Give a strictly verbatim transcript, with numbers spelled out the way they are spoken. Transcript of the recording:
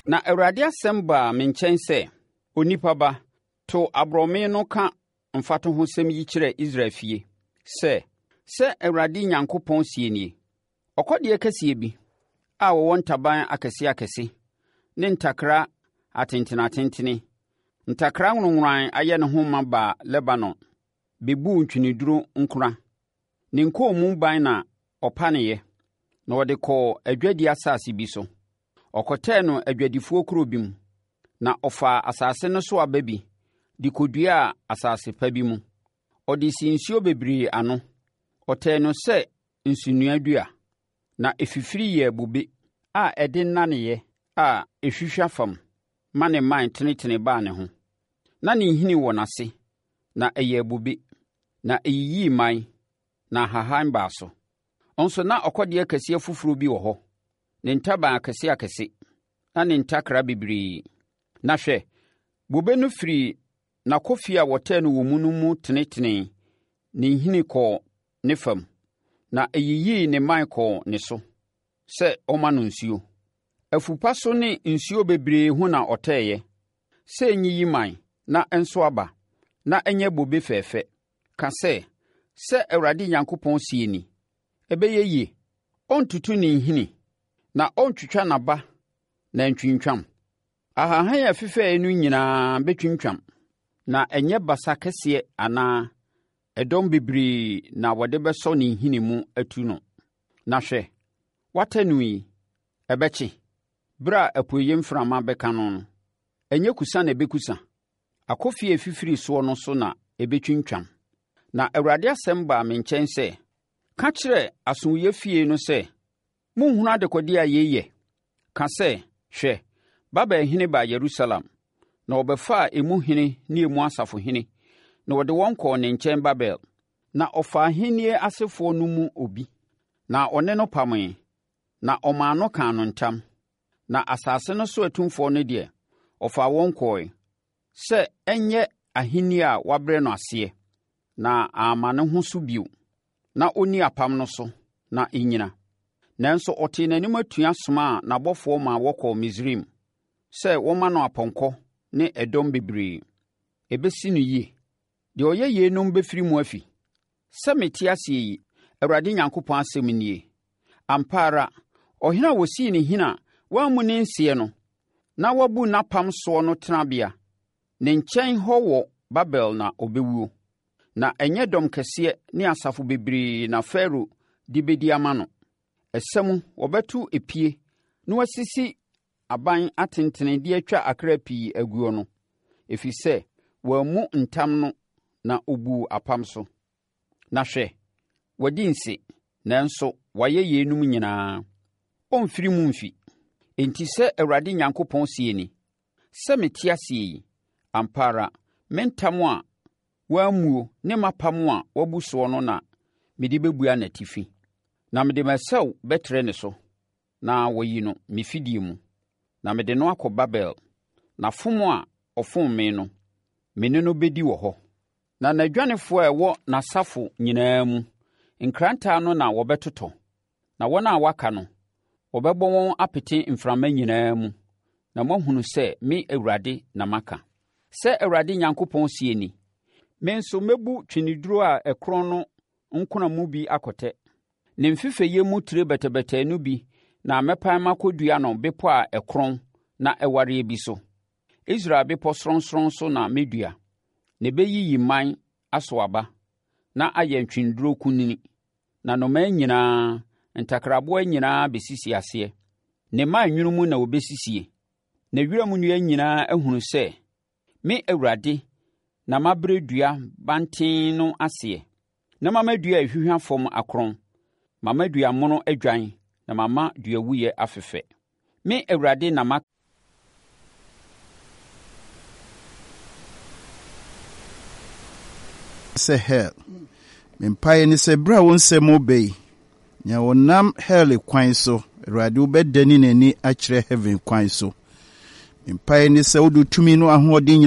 Na Awurade asɛm baa me nkyɛn sɛ, Onipa ba, to aborɔme no ka mfatohosɛm yi kyerɛ Israel fie sɛ, 'Sɛ Awurade Nyankopɔn seɛ nie: Ɔkɔdeɛ kɛseɛ bi a ɔwɔ ntaban akɛseakɛse ne ntakra atenteneatentene, ntakra nworonnworan ayɛ ne ho ma baa Lebanon bɛbuu ntweneduro nkona. Ne nkɔnmu ban na ɔpaneeɛ, na ɔde kɔɔ adwadie asase bi so. Ɔkɔtɛɛ no adwadifoɔ kuro bi mu, na ɔfaa asase no so aba bi de kɔduaa asase pa bi mu. Ɔde sii nsuo bebree ano. Ɔtɛɛ no sɛ nsunoa dua, na ɛfifiri yɛɛ bobe a ɛde naneeɛ a ɛhwihwa fam ma ne mman tenetene baa ne ho. Na ne nhini wɔ n'ase, na ɛyɛɛ bobe, na ɛyiyii mman, na ahahan baa so. Nso na ɔkɔdeɛ kɛseɛ foforɔ bi wɔ hɔ, ne ntaban akɛseakɛse, na ne ntakra bebree. Na hwɛ, bobe no firii n'akofie a wɔtɛɛ no wɔ mu no mu tenetenee ne nhini kɔɔ ne fam, na ɛyiyii ne mman kɔɔ ne so sɛ ɔmma no nsuo. Afu pa so ne nsuo bebree ho na ɔtɛeɛ, sɛ ɛnyiyi mman na ɛnso aba, na ɛnyɛ bobe fɛfɛ. Ka sɛ, sɛ Awurade Nyankopɔn seɛ ni, ɛbɛyɛ yie? Ɔrentutu ne nhini, na ɔrentwitwa n'aba na antwintwam? Ahahan a ɛfefɛeɛ no nyinaa bɛtwintwam, na ɛnyɛ basa kɛseɛ anaa ɛdɔm bebree na wɔde bɛsɔ ne nhini mu atu no. Na hwɛ, wɔatɛ no yi, ɛbɛkye, berɛ a apueeɛ mframa bɛka no no. Ɛnyɛ kusa na ɛbɛkusa? Akofie a ɛfifiri soɔ no so na ɛbɛtwintwam. Na Awurade asɛm baa me nkyɛn sɛ, Ka kyerɛ asowuiɛ fie no sɛ, Monhunu adekodeɛ a yei yɛ? Ka sɛ, Hwɛ, Babelhene baa Yerusalem, na ɔbɛfaa emu hene ne emu asafohene, na ɔde wɔn kɔɔ ne nkyɛn Babel. Na ɔfaa ahennie asefoɔ no mu obi, na ɔne no pamee, na ɔmaa no kaa no ntam. Na asase no so atumfoɔ no deɛ, ɔfaa wɔn kɔɔe, sɛ ɛnyɛ ahennie a wɔabrɛ no aseɛ, na amma ne ho so bio, na ɔnni apam no so na ɛnnyina. Nanso ɔtee n'anim atua somaa n'abɔfoɔ maa wɔkɔɔ Misraim sɛ wɔmma no apɔnkɔ ne ɛdɔm bebree. Ɛbɛsi no yie. Deɛ ɔyɛ yeinom bɛfiri mu afi. Sɛ mete aseɛ yi, Awurade Nyankopɔn asɛm nie, ampa ara, ɔhene a wɔsii no hene a wammu ne nseɛ no, na wabu n'apam soɔ no tenabea, ne nkyɛn hɔ wɔ Babel na ɔbɛwuo. Na ɛnyɛ dɔm kɛseɛ ne asafo bebree na Farao de bɛdi ama no. Ɛsa mu wɔbɛto epie na wɔasisi aban atentene de atwa akra pii aguo no, ɛfiri sɛ wammu ntam no na ɔbuu apam so. Na hwɛ, wadi nse, nanso wayɛ yeinom nyinaa. Ɔremfiri mu mfi. Enti sɛ Awurade Nyankopɔn seɛ ni, sɛ mete aseɛ yi, ampa ara, me ntam a wammuo ne m'apam a wabu soɔ no na mede bɛbua n'atifi. Na mede m'asau bɛtrɛ ne so, na wɔayi no me fidie mu, na mede no akɔ Babel, na fom a ɔfom me no, me ne no bɛdi wɔ hɔ. Na n'adwanefoɔ a ɛwɔ n'asafo nyinaa mu, nkrantɛ ano na wɔbɛtotɔ, na wɔn a wɔaka no, wɔbɛbɔ wɔn apete mframa nyinaa mu, na moahunu sɛ me Awurade na maka. Sɛ Awurade Nyankopɔn seɛ ni, me nso mɛbu tweneduro a ɛkorɔn no nkona mu bi akɔtɛ. Ne mfefɛeɛ mu tire bɛtɛbɛtɛɛ no bi na mɛpan makɔdua no bepɔ a ɛkorɔn na ɛwareɛ bi so. Israel bepɔ sorɔnsorɔn so na mɛdua, na ɛbɛyiyi mman aso aba, na ayɛ ntweneduro kunini, na nnomaa nyinaa, ntakraboa nyinaa bɛsisi aseɛ. Ne mman nwunu mu na wɔbɛsisie, na wiram nnua nyinaa ahunu sɛ me Awurade na mabrɛ dua banten no aseɛ, na mama dua a ɛhwihwa fam akorɔn, mama dua mono adwan na mama duawuiɛ afefɛ. Me Awurade na maka. Sɛ hell. Me mpaeɛ ne sɛ berɛ a wo nsɛm reba yi, nea ɔnam hell kwan so, Awurade wobɛdane n'ani akyerɛ heaven kwan so. Me mpaeɛ ne sɛ wode tumi no ahoɔden nyinaa